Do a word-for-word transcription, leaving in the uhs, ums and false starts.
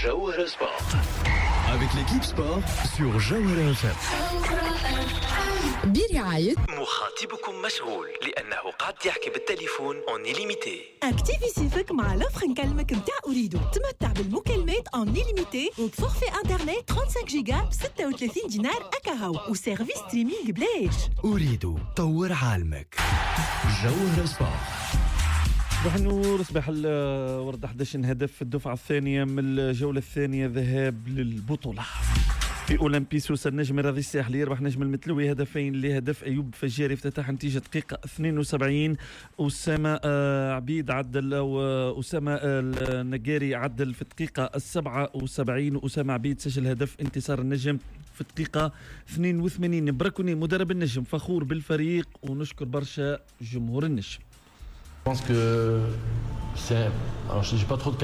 جوهرة Sport avec l'équipe sport sur جوهرة F M. برعاية مخاطبكم مشغول لأنه قاعد يحكي بالتليفون en illimité. activi صيفك مع l'offre نكلمك نتاع أوريدو، تمتع بالمكالمات en illimité وب forfait internet خمسة وثلاثين جيجا ب ستة وثلاثين دينار اكاهو و service streaming بلاش. أوريدو، طور عالمك. جوهرة Sport. صباح النور، صباح الورد. أحد عشر هدف في الدفعة الثانية من الجولة الثانية ذهاب للبطولة. في اولمبي سوسة، النجم الرياضي الساحلي يربح نجم المتلوي هدفين لهدف. ايوب فجاري افتتح نتيجة دقيقة اثنين وسبعين. اسامة آه، عبيد عدل او اسامة النقاري عدل في الدقيقة السبعة وسبعين. اسامة عبيد سجل هدف انتصار النجم في الدقيقة اثنين وثمانين. براكوني مدرب النجم فخور بالفريق ونشكر برشا جمهور النجم. Je pense que c'est. Alors, j'ai pas trop de